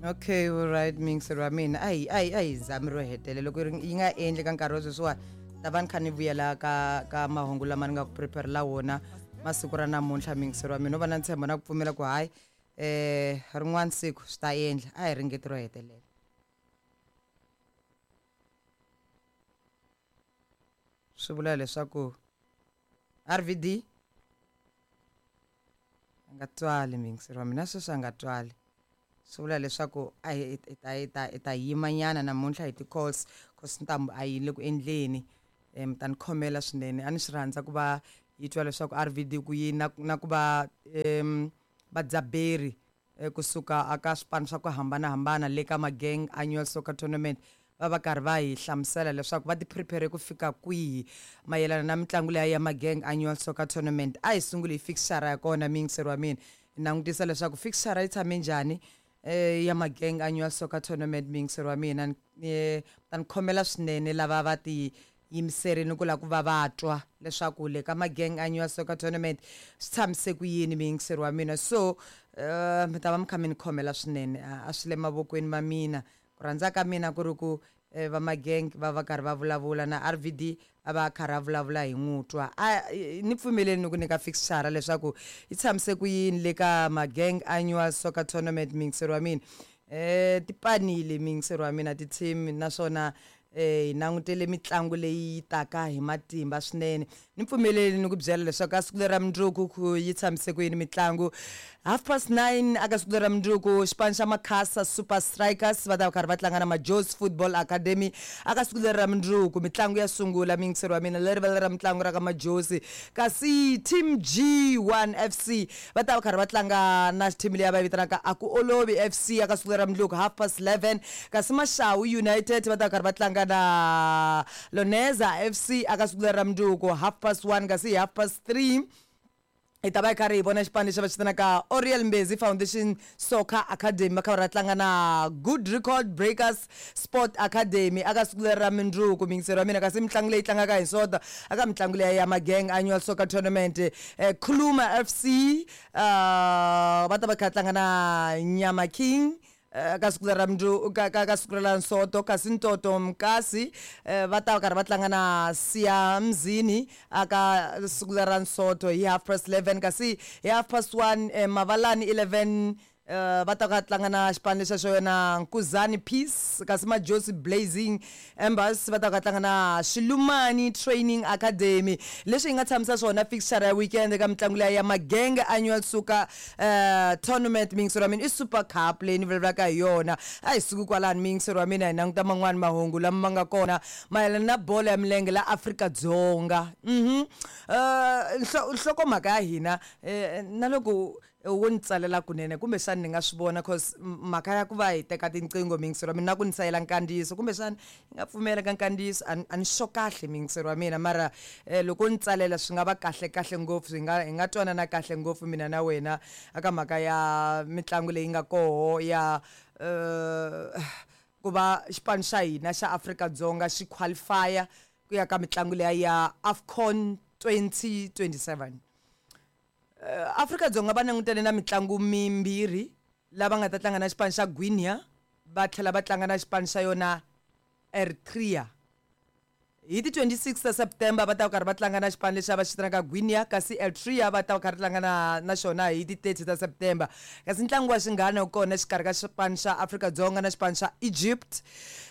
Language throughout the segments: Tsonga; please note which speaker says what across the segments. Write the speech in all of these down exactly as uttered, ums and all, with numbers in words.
Speaker 1: Okay, all right, muyingiseri wa mina, a hi a hi a hi zami ro hetelela loko yi nga endli ka nkarhi wa sweswiwani, ta va ni kha ni vuyela ka ka mahungu lama ni nga ku prepare-la wona masiku ra namuntlha. Muyingiseri wa mina, no va na ntshembo na ku pfumela ku hayi, eh rin'wana siku swi ta endla. A hi ringeti ro hetelela. Swi vula leswaku R V D a nga twali, muyingiseri wa mina, sweswi a nga twali. Swi vula leswaku a hi ta hi ta hi ta yimanyana namuntlha hi ti-calls, cause ntambu a yi le ku endleni. Mi ta ni khomela swinene, a ni swi rhandza ku va yi twa leswaku R V D ku yini na na ku va um vadzaberi kusuka aka swipano swa ku hambanahambana le ka Mageng Annual Soccer Tournament va va karhi va hi hlamusela leswaku va ti prepare ku fika kwihi mayelana na mitlangu leya ya Mageng Annual Soccer Tournament. A hi sunguli hi fixture ya kona, muyingiseri wa mina, hi langutisa leswaku fixture yi tshame njhani eh ya Mageng Annual Soccer Tournament. Muyingiseri wa mina, ni ta ni khomela swinene lava va ti yimiserini ku lava ku va va twa leswaku le ka Mageng Annual Soccer Tournament swi tshamise ku yini, muyingiseri wa mina. So uh, mi ta va mi kha mi ni khomela swinene, a swi le mavokweni ma mina. Ku rhandza ka mina ku ri ku va Mageng va va karhi va vulavula na R V D a va karhi a vulavula hi n'wi twa. A ni pfumeleli ni ku nyika fixture leswaku yi tshamise ku yini le ka Mageng Annual Soccer Tournament, muyingiseri wa mina. Eh tipanile, muyingiseri wa mina, ti-team, naswona eh hi langutele mitlangu leyi taka hi matimba swinene. Ni pfumeleli ni ku byela leswaku ka siku leri ra mundzuku ku yi tshamise ku yini mitlangu. Half past nine aka siku leri ra mundzuku, xipano xa Makhasa Super Strikers va ta va karhi va tlanga na Majozi Football Academy aka siku leri ra mundzuku. Mitlangu ya sungula, muyingiseri wa mina, leri vala ra mitlangu ra ka Majozi. Kasi Team G one F C va ta va karhi va tlanga na team leyi va yi vitanaka Aku Olovi F C aka siku leri ra mundzuku half past eleven. Kasi Mashawu United va ta va karhi va tlanga na Loneza F C aka siku leri ra mundzuku half past one. Kasi half past three hi ta va hi karhi hi vona xipano lexi va xi vitanaka Oriel Mbezi Foundation Soccer Academy va kha va tlanga na Good Record Breakers Sport Academy aka siku leri ra mundzuku, muyingiseri wa mina. Kasi mitlangu leyi tlangaka hi Sonta aka mitlangu leyi ya Mageng Annual Soccer Tournament, eh, Khuluma F C uh, va ta va kha tlanga na Nyama King ka siku ra mundzuku ka ka ka siku ra Nsoto. Kasi Ntoto Mkasi va ta karhi va tlanga na Siamzini aka siku ra Nsoto hi half past eleven. Kasi hi half past one Mavalani eleven va ta ka tlanga na xipano lexa xo yona Nkuzani Peace. Kasi Majozi Blazing Embers va ta ka tlanga na Xilumani Training Academy. Leswi hi nga tshamisa swona fixture ya weekend eka mitlangu leya ya Mageng Annual Soccer uh, Tournament, muyingiseri wa mina, i Super Cup leyi ni vulavulaka hi yona. A hi suki kwalani, muyingiseri wa mina, hi languta man'wani mahungu lama ma nga kona mayelana na bolo ya milenge la Afrika-Dzonga. Mhm uh, nhlokomhaka ya hina eh, na loko wo ni tsalela kunene kumbexani ni nga swi vona, cause mhaka ya ku va hi teka tinqingho, muyingiseri wa mina, na ku ni sayela nkandziyiso kumbexani yi nga pfumela ka nkandziyiso, a ni swo kahle, muyingiseri wa mina, mara loko ni tsalela swi nga va kahle kahle ngopfu, hi nga hi nga twanana kahle ngopfu mina na wena aka mhaka ya mitlangu leyi nga koho ya uh, ku va xipano xa hina xa Afrika-Dzonga xi qualify ku ya ka mitlangu leya ya AFCON twenty twenty-seven. Uh, Afrika-Dzonga va langutane na mitlangu mimbirhi lava nga ta tlanga na xipano xa Guinea, va tlhela va tlanga na xipano xa yona Eritrea. Hi ti twenty-six ta September va ta karhi va tlanga na xipano lexi va xi vitanaka Guinea, kasi Eritrea va ta karhi tlanga na na xona hi ti thirty ta September. Kasi ntlangu wa xinghana wu kona exikarhi ka xipano xa Afrika-Dzonga na xipano xa Egypt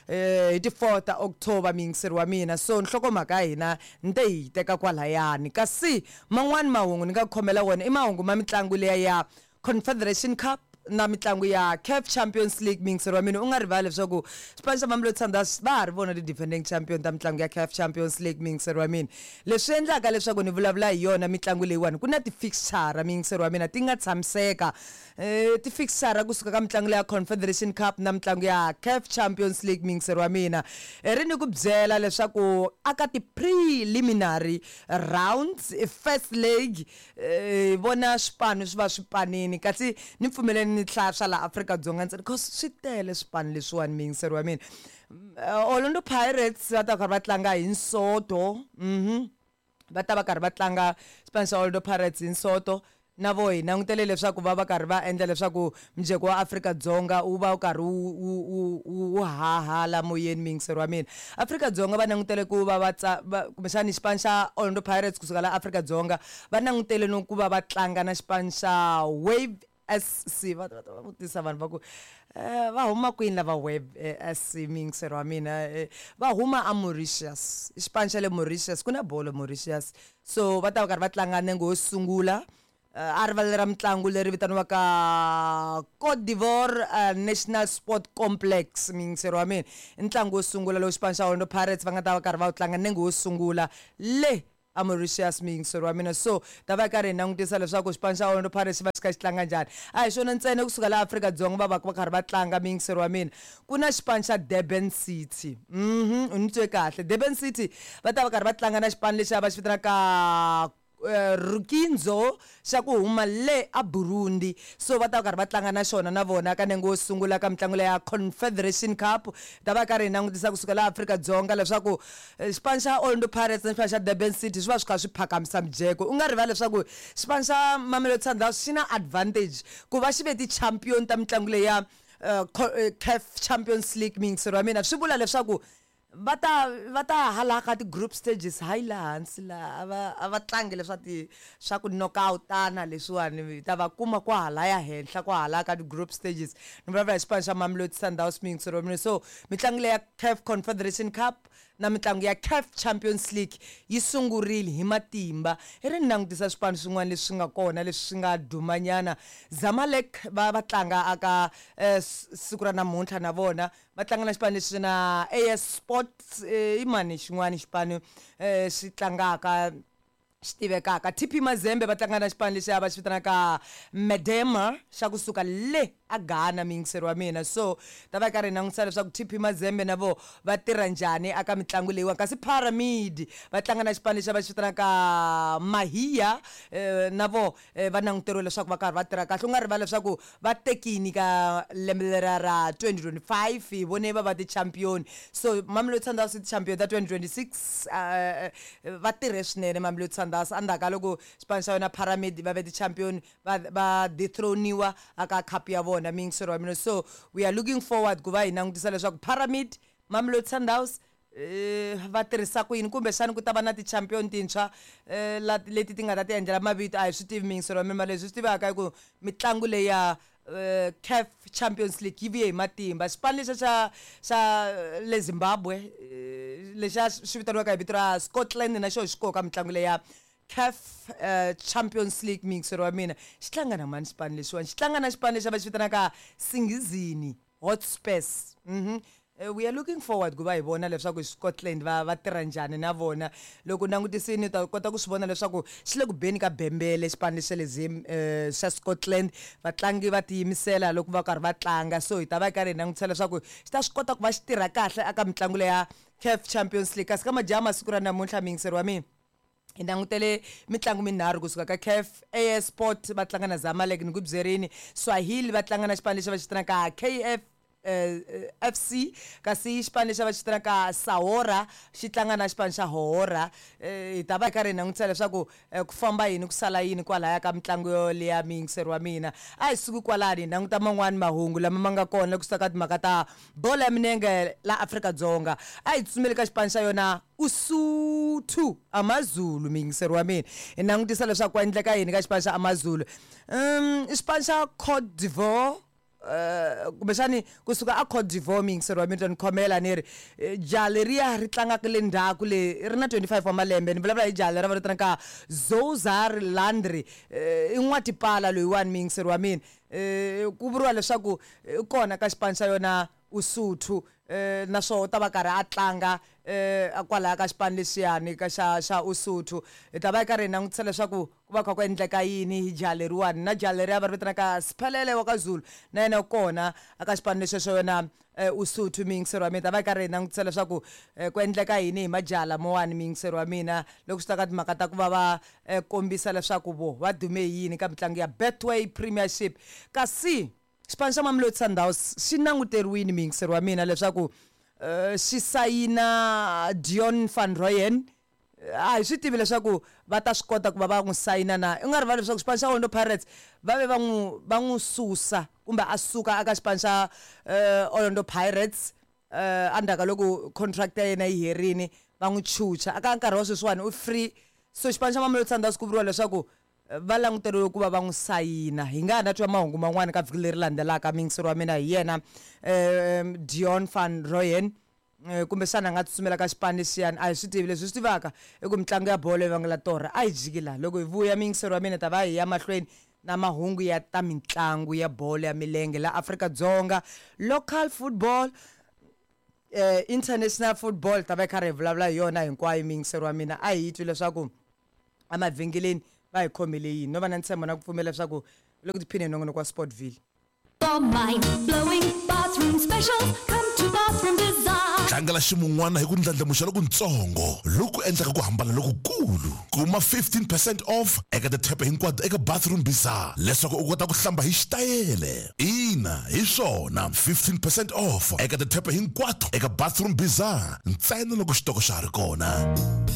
Speaker 1: eh hi ti four ta October, muyingiseri wa mina. So nhlokomhaka ya hina ni te hi teka kwalayani. Kasi man'wani mahungu ni nga ku khomela wona i mahungu ma mitlangu leya ya Confederation Cup na mitlangu ya C A F Champions League, muyingiseri wa mina. U nga rivali leswaku xipano xa Mamelodi Sundowns va ha ri vona ti-defending champion ta mitlangu ya C A F Champions League, muyingiseri wa mina. Leswi endlaka leswaku ni vulavula hi yona mitlangu leyiwani, ku na ti-fixture, muyingiseri wa mina, ti nga tshamiseka. Eh ti-fixture kusuka ka mitlangu leya Confederation Cup na mitlangu ya C A F Champions League, muyingiseri wa mina. Ri ni ku byela leswaku aka ti-preliminary rounds, first leg, eh vona swipano swi va swi panini. Kasi ni pfumeleni ni hlaya swa la Afrika-Dzonga ntsena, cause swi tele swipano leswiwani, muyingiseri wa mina. Orlando Pirates va ta karhi va tlanga hi Nsoto, mhm va ta va karhi va tlanga xipano xa Orlando Pirates hi Nsoto. na vo hi langutele leswaku va va karhi va endla leswaku mujeko wa Afrika-Dzonga wu va wu karhi wu wu wu wu haha moyeni muyingiseri wa mina. Afrika-Dzonga va langutele ku va va tsa kumbexani xipano xa Orlando Pirates kusuka la Afrika-Dzonga va langutele no ku va va tlanga na xipano xa Wave S C. Va va va vutisa vanhu va ku eh, va huma kwini lava Wave S C muyingiseri wa mina? Va huma a Mauritius, i xipano xa le Mauritius, ku na bolo Mauritius. So va ta va karhi va tlanga nenge wo sungula a rivala ra mitlangu leri vitaniwaka Cote d'Ivoire uh, National Sport Complex muyingiseri wa mina. I ntlangu wo sungula lowu xipano xa Orlando Pirates va nga ta va karhi va wu tlanga nenge wo sungula le a Mauritius muyingiseri wa mina. So ta va karhi hi langutisa leswaku xipano xa Orlando Pirates xi va xi kha xi tlanga njhani. A hi xona ntsena kusuka laha Afrika-Dzonga va va va karhi va tlanga muyingiseri wa mina. Ku na xipano xa Durban City, mhm u ni twe kahle. Durban City va ta va karhi va tlanga na xipano lexi va xi vitanaka Rukinzo xa ku huma le a Burundi. So va ta va karhi va tlanga na xona na vona ka nenge wo sungula ka mitlangu leya Confederation Cup. Ta va karhi hi langutisa kusuka laha Afrika-Dzonga leswaku xipano xa Orlando Pirates na xipano xa Durban City swi va swi kha swi phakamisa mujeko. U nga rivali leswaku xipano xa Mamelodi Sundowns xi na advantage ku va xi ve ti-champion ta mitlangu leya C A F Champions League muyingiseri wa mina. Swi vula leswaku va ta va ta hala ka ti-group stages hayi laha hansi laha a va a va tlangi leswa ti swa ku knockout-ana leswiwani, ta va kuma kwahalaya henhla kwahala ka ti-group stages. Ni vulavula hi xipano xa Mamelodi Sundowns muyingiseri wa mina. So mitlangu leya C A F Confederation Cup na mitlangu ya C A F Champions League yi sungurile hi matimba. I ri ni langutisa swipano swin'wana leswi nga kona leswi swi nga dumanyana. Zamalek va va tlanga aka siku ra namuntlha na vona va tlanga na xipano lexi na A S Sports, i mani xin'wana xipano xi tlangaka xi tivekaka. T P Mazembe va tlanga na xipano lexi va xi vitanaka Medema xa kusuka le a Ghana muyingiseri wa mina. So ta va karhi hi langutisa leswaku T P Mazembe na vo va tirha njhani aka mitlangu leyiwani. Kasi Pyramid va tlanga na xipano lexi va xi vitanaka Mahia, na vo va languteriwe leswaku va karhi va tirha kahle. U nga rivali leswaku va tekini ka lembe leriya ra twenty twenty-five hi vone va va ti-champion. So Mamelodi Sundowns i ti-champion ta twenty twenty-six, va tirhe swinene Mamelodi Sundowns. Endzhaku ka loko xipano xa yona Pyramid va ve ti-champion va va dethroniwa aka cup ya vona muyingiseri wa mina. So we are looking forward ku va hi langutisa leswaku Pyramid, Mamelodi Sundowns va tirhisa ku yini, kumbexani ku ta va na ti-champion tintshwa leti ti nga ta ti endlela mavito. A hi swi tivi muyingiseri wa mina, leswi swi tivaka i ku mitlangu leya C A F Champions League yi vuye hi matimba. Xipano lexa xa xa le Zimbabwe lexa xi vitaniwaka hi vito ra Scotland na xona xi koka mitlangu leya C A F Champions League muyingiseri wa mina. Xi tlanga na mani xipano lexiwani? Xi tlanga na xipano lexi va xi vitanaka Singizini Hotspurs. Mhm we are looking forward ku va hi vona leswaku Scotland va va tirha njhani na vona. Loko langutisini u ta kota ku swi vona leswaku xi le ku beni ka bembele xipano lexi xa le Zim xa Scotland. Vatlangi va tiyimisela loko va karhi va tlanga. So hi ta va hi karhi hi langutisa leswaku xi ta swi kota ku va xi tirha kahle aka mitlangu leya C A F Champions League. Kasi ka majaha masiku ra namuntlha muyingiseri wa mina, hi langutele mitlangu minharhu kusuka ka C A F. A S Sport va tlanga na Zamalek ni ku byerini, Swahili va tlanga na xipano lexi va xi vitanaka K F F C, kasi xipano lexi va xi vitanaka Sahora xi tlanga na xipano xa Hohora. Hi ta va hi karhi hi langutisa leswaku ku famba yini ku sala yini kwalaya ka mitlangu yoleya muyingiseri wa mina. A hi suki kwalani hi languta man'wani mahungu lama ma nga kona kusuka ka timhaka ta bolo ya milenge la Afrika-Dzonga. A hi tsutsumeli ka xipano xa yona Usuthu AmaZulu muyingiseri wa mina. Hi langutisa leswaku ku endleka yini ka xipano xa AmaZulu. Um xipano xa Cote d'Ivoire, kumbexani kusuka a Cote d'Ivoire muyingiseri wa mina, ni khomela ni ri jaha leriya ri tlangaka le ndzhaku le ri na twenty-five wa malembe. Ni vulavula hi jaha leriya va ri vitanaka Zozar Landry, i n'watipala loyiwani muyingiseri wa mina. Ku vuriwa leswaku i kona ka xipano xa yona Usuthu, naswona u ta va karhi a tlanga kwalaya ka xipano lexiyani ka xa xa Usuthu. Hi ta va hi karhi hi langutisa leswaku ku va kha ku endleka yini hi jaha leriwani. Na jaha leriya va ri vitanaka Siphelele wa ka Zulu na yena u kona aka xipano lexi xa yona Usuthu muyingiseri wa mina. Ta va hi karhi hi langutisa leswaku ku endleka yini hi majaha lamawani muyingiseri wa mina, loko swi ta ka timhaka ta ku va va kombisa leswaku vo va dume hi yini ka mitlangu ya Betway Premiership. Kasi xipano xa Mamelodi Sundowns xi languteriwile muyingiseri wa mina leswaku xi sayina Dion van Rooyen A hi swi tivi leswaku va ta swi kota ku va va n'wi sayina na. U nga rivali leswaku xipano xa Orlando Pirates va ve va n'wi va n'wi susa kumbe a suka aka xipano xa uh, Orlando Pirates uh, endzhaku ka loko contract ya yena yi herini, va n'wi chucha. Aka nkarhi wa sweswiwani u free, so xipano xa Mamelodi Sundowns ku vuriwa leswaku eh, va languteriwe ku va va n'wi sayina. Hi nga ha na twa mahungu man'wani ka vhiki leri landzelaka. Miyingiseri wa mina, hi yena um Deon van Rooyen. Eh, kumbexana a nga tsutsumela ka xipano lexiyani, a hi swi tivi. Leswi hi swi tivaka i ku mitlangu ya bolo yi vangela torha. A hi jiki laha, loko hi vuya, miyingiseri wa mina, ta va hi ya mahlweni na mahungu ya ta mitlangu ya bolo ya milenge la Afrika-Dzonga, local football, eh, international football, ta va hi karhi hi vulavula hi yona hinkwayo. Miyingiseri wa mina, a hi twi leswaku emavhengeleni va hi khomele yini, no va na ntshembo na ku pfumela leswaku loko tiphine hi nongonoko wa Sportville.
Speaker 2: For mind blowing bathroom specials, come to Bathroom Design.
Speaker 3: Tlangela ximun'wana hi ku ndlandlamuxa lokutsongo loku endlaka ku hambana lokukulu. Kuma fifteen percent off eka tithepe hinkwato eka Bathroom Bizar leswaku u kota ku hlamba hi xitayele. Ina, hi swona, fifteen percent off eka tithepe hinkwato eka Bathroom Bizar, ntsena loko xitoko xa ha ri kona.